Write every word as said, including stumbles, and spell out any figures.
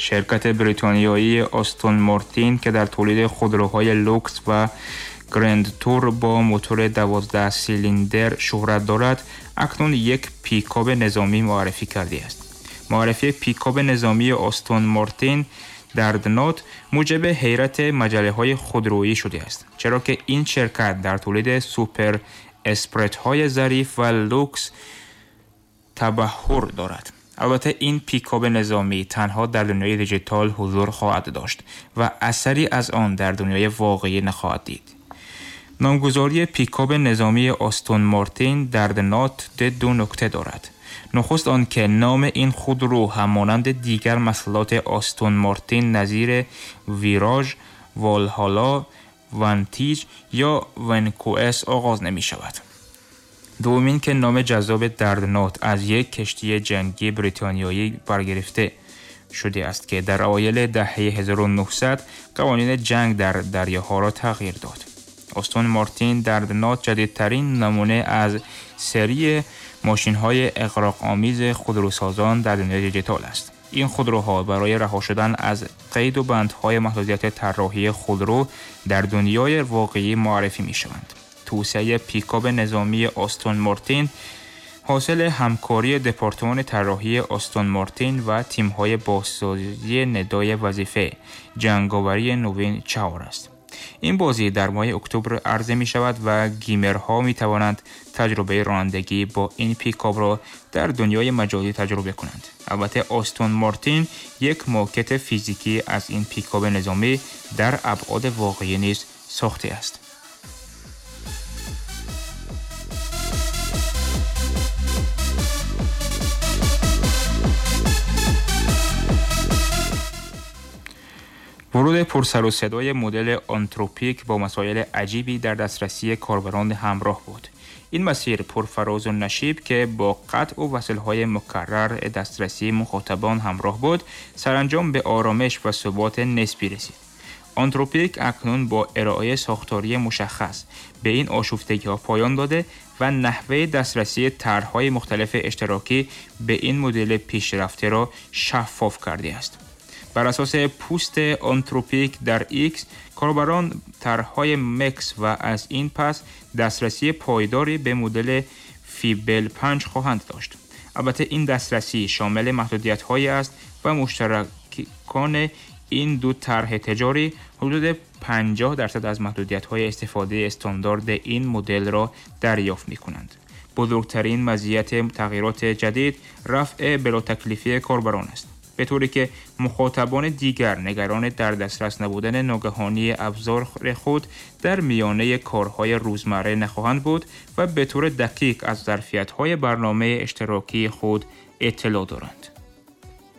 شرکت بریتانیایی آستون مارتین که در تولید خودروهای لوکس و گرند تور با موتور دوازده سیلندر شهرت دارد، اکنون یک پیکاب نظامی معرفی کرده است. معرفی پیکاب نظامی آستون مارتین دردنات موجب حیرت مجله‌های خودرویی شده است، چرا که این شرکت در تولید سوپر اسپرت‌های ظریف و لوکس تبحر دارد. البته این پیکاب نظامی تنها در دنیای دیجیتال حضور خواهد داشت و اثری از آن در دنیای واقعی نخواهد دید. نامگذاری پیکاب نظامی آستون مارتین دردنات دو نکته دارد. نخست آن که نام این خودرو همانند دیگر محصولات آستون مارتین نظیر ویراژ، والهالا، ونتیج یا ونکوئس آغاز نمی شود. دومین که نام جذاب دردنات از یک کشتی جنگی بریتانیایی برگرفته شده است که در اوایل دهه هزار و نهصد قوانین جنگ در دریاها را تغییر داد. آستون مارتین دردنات جدیدترین نمونه از سری ماشین‌های اغراق‌آمیز خودروسازان در دنیای دیجیتال است. این خودروها برای رها شدن از قید و بندهای محدودیت طراحی خودرو در دنیای واقعی معرفی می‌شوند. توسعه پیکاب نظامی آستون مارتین حاصل همکاری دپارتمان طراحی آستون مارتین و تیم‌های بازسازی ندای وظیفه جنگاوری نوین چهار است. این بازی در ماه اکتبر عرضه می شود و گیمرها می توانند تجربه رانندگی با این پیکاب را در دنیای مجازی تجربه کنند. البته آستون مارتین یک ماکت فیزیکی از این پیکاب نظامی در ابعاد واقعی نیز ساخته است. ورود پرسر و صدای مدل آنتروپیک با مسائل عجیبی در دسترسی کاربران همراه بود. این مسیر پرفراز و نشیب که با قطع و وصل‌های مکرر دسترسی مخاطبان همراه بود، سرانجام به آرامش و ثبات نسبی رسید. آنتروپیک اکنون با ارائه ساختاری مشخص به این آشفتگی‌ها پایان داده و نحوه دسترسی طرح‌های مختلف اشتراکی به این مدل پیشرفته را شفاف کرده است. بر اساس پوست آنتروپیک در ایکس، کاربران طرح‌های مکس و از این پس دسترسی پایداری به مدل فیبل پنج خواهند داشت. البته این دسترسی شامل محدودیت‌هایی است و مشترکان این دو طرح تجاری حدود پنجاه درصد از محدودیت‌های استفاده استاندارد این مدل را دریافت می‌کنند. بزرگترین مزیت تغییرات جدید رفع بلاتکلیفی کاربران است، به طوری که مخاطبان دیگر نگران در دسترس نبودن ناگهانی ابزار خود در میانه کارهای روزمره نخواهند بود و به طور دقیق از ظرفیت‌های برنامه اشتراکی خود اطلاع دارند.